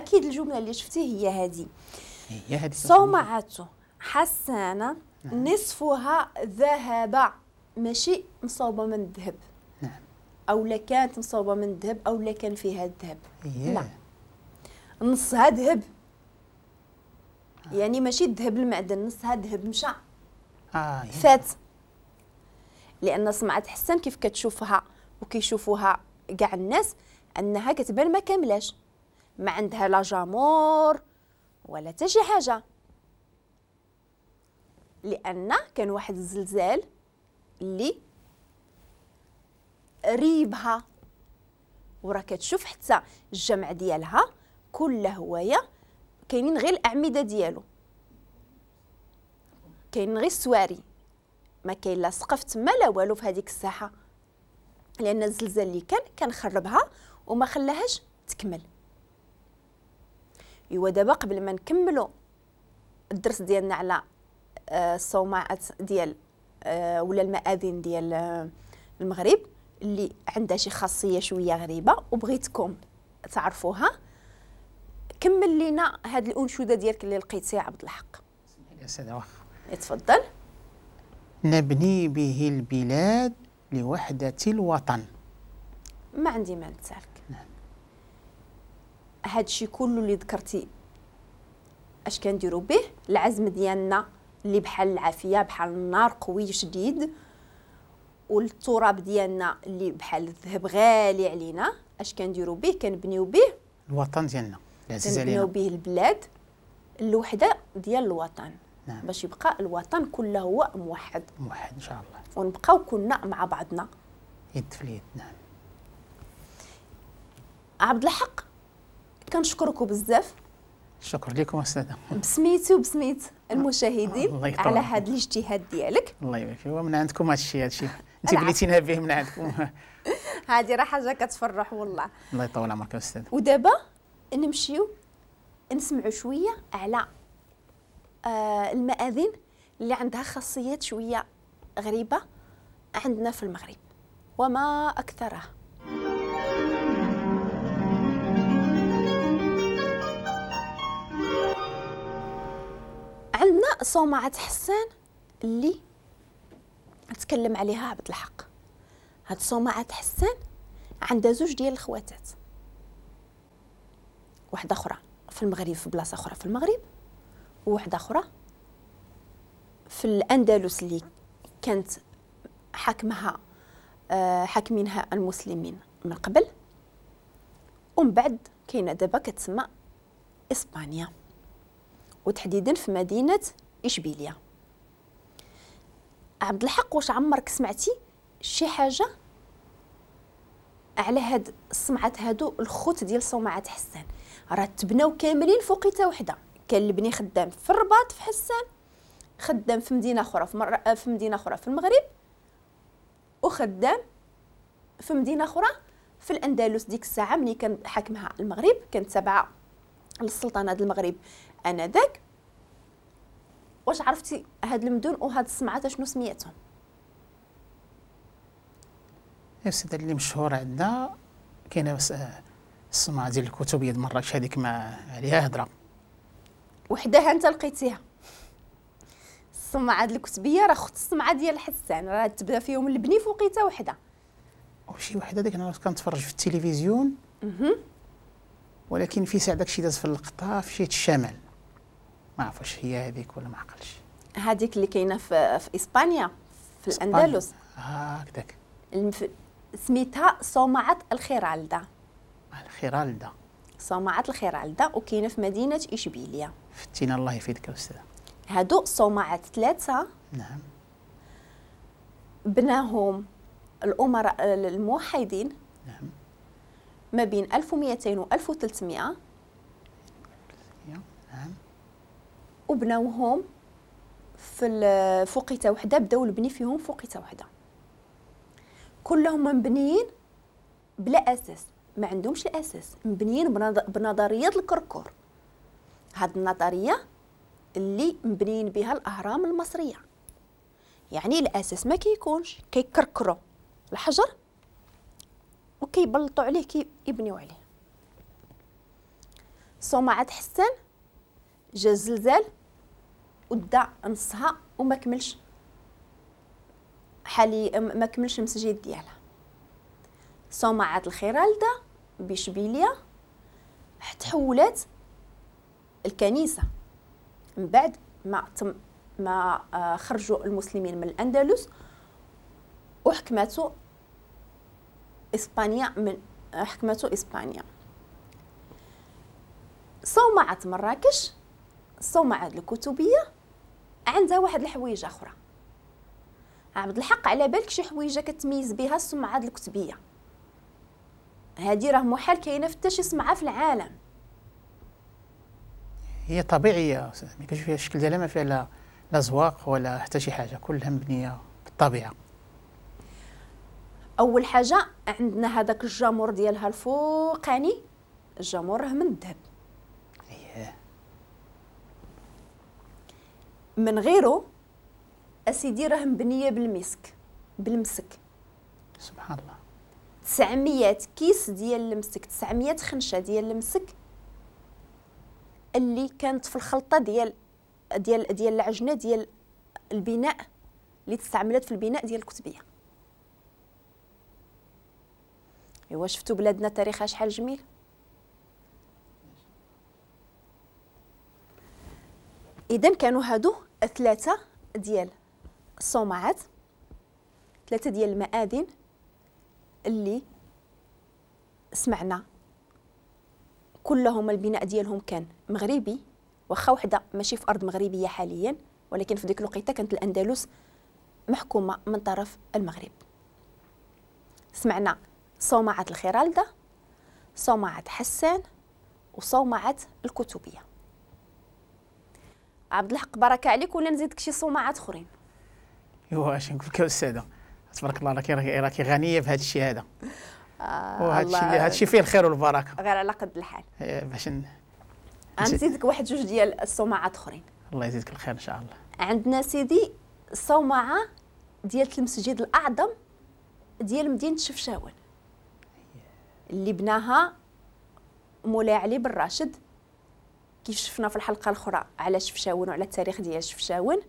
اكيد الجملة اللي شفتي هي هذه، هي هذه صومعة حسانة. نعم. نصفها ذهب، ماشي مصوبه من الذهب. نعم. او لا كانت مصوبه من الذهب او لا كان فيها الذهب. لا، نصها ذهب. يعني ماشي الذهب المعدن، نصها ذهب مشى. فات. لان صمعة حسان كيف كتشوفها وكيشوفوها كاع الناس انها كتبان ما كاملاش، ما عندها لا جامور ولا حتى شي حاجة، لان كان واحد الزلزال اللي ريبها، وراه كتشوف حتى الجمع ديالها كله هواية كاينين غير الاعمدة ديالو، كاين غير السواري، ما كاين لا سقف تما لا والو في هذيك الساحة، لان الزلزال اللي كان خربها وما خلاهاش تكمل. ايوا دابا قبل ما نكملوا الدرس ديالنا على الصومعات ديال ولا المآذن ديال المغرب اللي عندها شي خاصية شوية غريبة وبغيتكم تعرفوها، كمل لينا هاد الانشوده ديالك اللي لقيتيها عبد الحق. يا سيدي واخا تفضل. نبني به البلاد لوحدة الوطن. ما عندي ما نتسالك. نعم. هادشي كله اللي ذكرتي اش كنديروا به؟ العزم ديالنا اللي بحال العافية، بحال النار قوي شديد، والتراب ديالنا اللي بحال الذهب غالي علينا، اش كنديروا به؟ كنبنيو به الوطن ديالنا العزيز علينا، كنبنيو به البلاد، الوحدة ديال الوطن. نعم. باش يبقى الوطن كله هو موحد، موحد ان شاء الله، ونبقاو كلنا مع بعضنا يد في اليد. نعم. عبد الحق كنشكركم بزاف. شكرا لكم استاذه، بسميتي وبسميت المشاهدين على هذا الاجتهاد ديالك. الله يبارك فيك. ومن عندكم هادشي انت بليتينا به من عندكم. هذه راه حاجة كتفرح والله. الله يطول عمرك استاذ. ودابا نمشيو نسمعوا شوية على المآذن اللي عندها خاصيات شوية غريبة عندنا في المغرب وما اكثرها. عندنا صومعة حسان اللي تكلم عليها عبد الحق. هاد صومعة حسان عندها زوج ديال الخواتات، واحدة أخرى في المغرب في بلاصة أخرى في المغرب، وواحدة أخرى في الأندلس اللي كانت حاكمها حاكمينها المسلمين من قبل، ومن بعد كاينة دابا كتسمى إسبانيا، وتحديدا في مدينة إشبيلية. عبد الحق واش عمرك سمعتي شي حاجة على هاد الصمعات هادو الخوت ديال صومعة حسان؟ راه تبناو كاملين فوقيته وحده، كان البني خدام في الرباط في حسان، خدام في مدينة أخرى في مدينة أخرى في المغرب، وخدام في مدينة أخرى في الأندلس. ديك الساعة ملي كان حاكمها المغرب كانت تابعة للسلطنة المغرب آنذاك. واش عرفتي هاد المدن وهاد الصمعات شنو سميتهم؟ السيدة اللي مشهورة عندنا كاينة الصمعة ديال الكتبية ديال مراكش، هذيك ما عليها هضرة وحدها انت لقيتيها. الصمعة ديال الكتبية راه خت الصمعة ديال حسان، راه تبدا فيهم البني فوقيته وحدة. وشي وحدة ديك انا كنتفرج في التلفزيون، ولكن في ساعة داكشي داز في اللقطة في شي الشمال، ما عرف واش هي هذيك ولا ما عقلش. هذيك اللي كاينه في اسبانيا في الاندلس. هكذاك سميتها صومعة الخيرالدا. الخيرالدا، صومعة الخيرالدا، وكاينه في مدينة اشبيلية. فتينا الله يفيدك استاذ. هادو صومعات ثلاثة. نعم. بناهم الامراء الموحدين. نعم. ما بين 1200 و 1300. نعم. وبناوهم في فوقيته وحده، بداو البني فيهم فوقيته وحده، كلهم مبنيين بلا اساس، ما عندهمش الاساس، مبنيين بنظرية الكركور. هاد النظرية اللي مبنيين بها الاهرام المصرية، يعني الاساس ما كيكونش، كيكركروا الحجر وكيبلطوا عليه كيبنيو عليه. صومعة حسان جا الزلزال ودا نصها وما كملش حالي، ما كملش المسجد ديالها. صومعة الخيرالدة بشبيليا تحولات الكنيسة من بعد ما خرجوا المسلمين من الأندلس وحكمته إسبانيا من حكمته إسبانيا. صومعة مراكش، صومعة الكتبية، عندها واحد الحويجة أخرى. عبد الحق على بالك شي حويجة كتميز بها الصومعة الكتبية؟ هذه راه محال كاينة في حتى شي صمعة في العالم. هي طبيعية، ما كاينش فيها الشكل ديالها، ما فيها لا زواق ولا حتى شي حاجة، كلها مبنية بالطبيعة. أول حاجة عندنا هذاك الجمر ديالها الفوقاني، الجمر راه من الذهب. اييه. من غيره اسيدي راه مبنية بالمسك، بالمسك. سبحان الله. 900 كيس ديال المسك، 900 خنشه ديال المسك اللي كانت في الخلطة ديال ديال ديال العجنه ديال البناء اللي تستعملت في البناء ديال الكتبيه. ايوا شفتوا بلادنا تاريخها شحال جميل. اذا كانوا هادو ثلاثة ديال الصومعات، ثلاثة ديال المآذن اللي سمعنا كلهم البناء ديالهم كان مغربي، واخا وحده ماشي في ارض مغربية حاليا، ولكن في ديك الوقيته كانت الاندلس محكومة من طرف المغرب. سمعنا صومعه الخيرالده، صومعه حسان، وصومعه الكتبيه. عبد الحق بركة عليك، ولا نزيدك شي صومعات اخرين؟ ايوا اش نقول لك يا استاذه، تبارك الله راكي غنية بهذا الشيء هذا. وهذا الشيء هذا الشيء فيه الخير والبركة، غير على قد الحال. باش نزيدك واحد جوج ديال الصومعات اخرين. الله يزيدك الخير ان شاء الله. عندنا سيدي الصومعه ديال المسجد الاعظم ديال مدينة شفشاون اللي بناها مولاي علي بن راشد، كيف شفنا في الحلقة الاخرى على شفشاون وعلى التاريخ ديال شفشاون،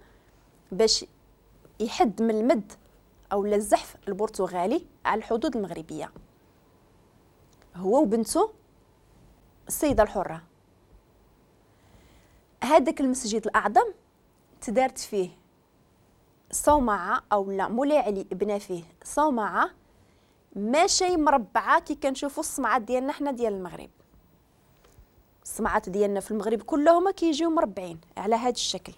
باش يحد من المد او الزحف البرتغالي على الحدود المغربية، هو وبنته السيدة الحرة. هذاك المسجد الاعظم تدارت فيه صومعه، او لا مولاي علي بنى فيه صومعه ماشي مربعه كي كنشوفوا الصمعات ديالنا حنا ديال المغرب. الصمعات ديالنا في المغرب كلهم كيجيو مربعين على هذا الشكل.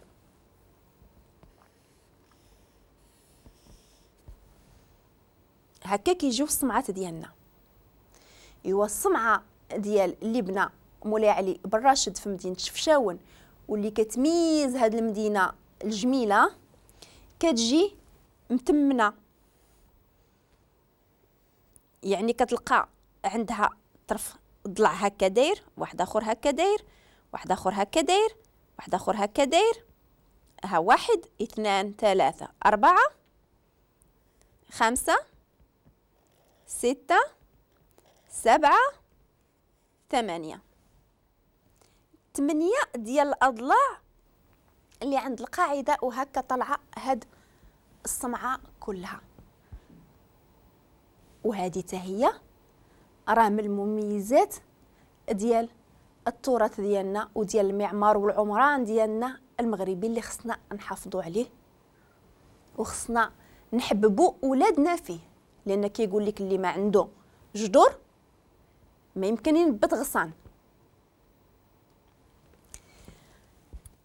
هكا كيجيو الصمعات ديالنا. ايوا الصمعه ديال اللي بنى مولاي علي بن راشد في مدينة شفشاون واللي كتميز هذه المدينة الجميلة، كتجي متمنه، يعني كتلقى عندها طرف ضلع هكا داير، واحد اخر هكا داير، واحد اخر هكا داير، واحد اخر هكا داير، ها 1 2 3 4 5 6 7 8 8 ديال الاضلاع اللي عند القاعدة، وهكا طالعه هاد الصمعه كلها. وهذه حتى هي راه من المميزات ديال التراث ديالنا وديال المعمار والعمران ديالنا المغربي اللي خصنا نحافظوا عليه وخصنا نحببوا ولادنا فيه، لان كيقول لك اللي ما عنده جذور ما يمكن ينبت غصان.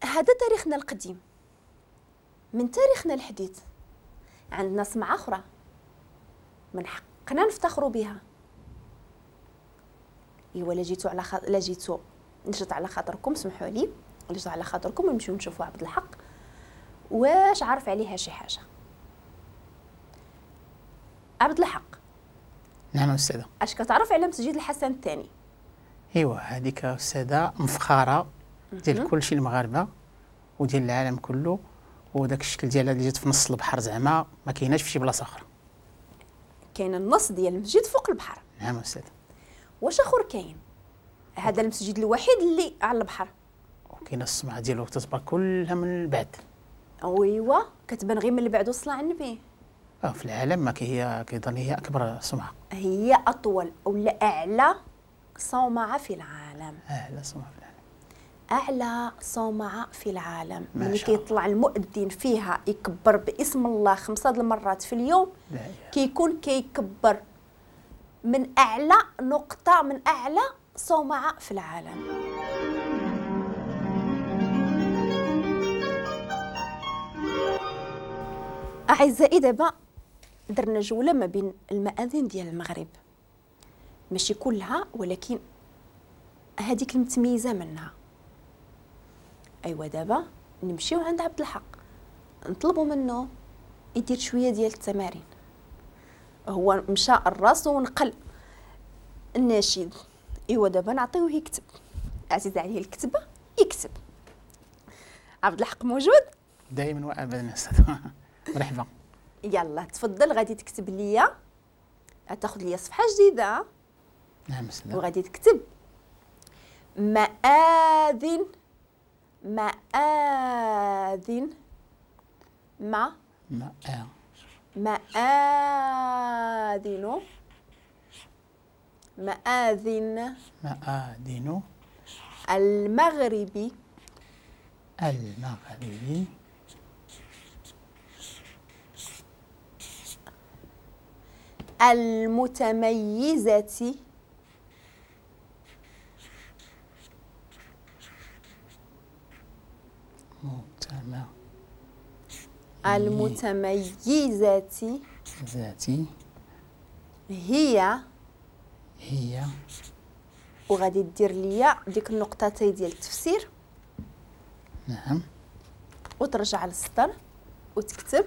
هذا تاريخنا القديم. من تاريخنا الحديث عندنا سمعة أخرى من حقنا نفتخروا بها. ايوا لا جيتو على لا جيتو نجت على خاطركم، سمحوا لي، نجت على خاطركم ونمشيو نشوفوا عبد الحق واش عارف عليها شي حاجة. عبد الحق. نعم أستاذة. اش كتعرف على مسجد الحسن الثاني؟ ايوا هذيك أستاذة مفخرة ديال كلشي المغاربة وديال العالم كله، وداك الشكل ديالها اللي جات في نص البحر زعما ما كايناش في شي بلاصة اخرى. كاين النص ديال المسجد فوق البحر. نعم أستاذة. واش اخر كاين؟ هذا المسجد الوحيد اللي على البحر. وكاينه الصومعه ديالو تتبان كلها من البعد. ايوا كتبان غير من البعد وصل على النبي. في العالم ما هي كيظن هي اكبر صومعه، هي اطول ولا اعلى صومعه في العالم. اعلى صومعه في العالم، اعلى صومعه في العالم. ملي كيطلع المؤذن فيها يكبر باسم الله 5 المرات في اليوم، كيكون كيكبر من اعلى نقطة، من اعلى صومعه في العالم. اعزائي دابا درنا جولة ما بين المآذن ديال المغرب، ماشي كلها ولكن هذيك المتميزة منها. ايوا دابا نمشيو عند عبد الحق نطلبوا منه يدير شوية ديال التمارين. هو مشى الراس ونقل النشيد. ايوا دابا نعطيوه يكتب، عزيز عليه الكتبة يكتب. عبد الحق موجود دائما وابدا استاذ. مرحبا. يلا تفضل، غادي تكتب ليا، تاخذ ليا صفحة جديدة. نعم استاذ. وغادي تكتب مآذن، مآذن، ما مآذن، مآذن، مآذن المغربي، المغربي المتميزة المتميزة ذاتي هي، هي، وغادي دير ليا ديك النقطتين ديال التفسير. نعم. وترجع للسطر وتكتب.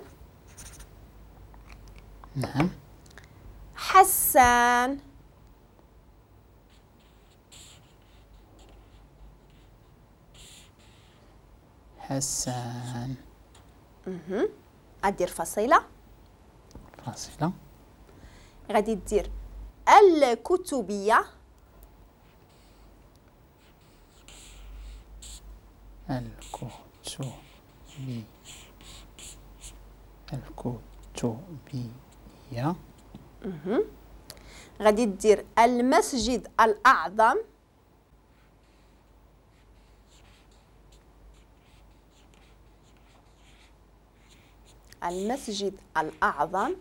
نعم. حسان، حسان. غدير فاصلة، فاصلة. غادي دير الكتبية، الكتبية، الكتبية. غادي دير المسجد الأعظم، المسجد الأعظم،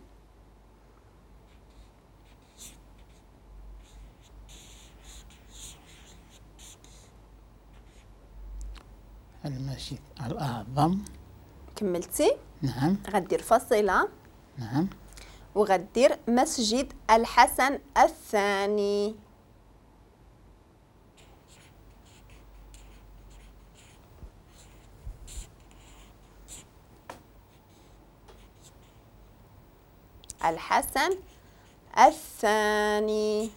المسجد الأعظم. كملتي؟ نعم. غدير فاصلة. نعم. وغدير مسجد الحسن الثاني. الحسن الثاني.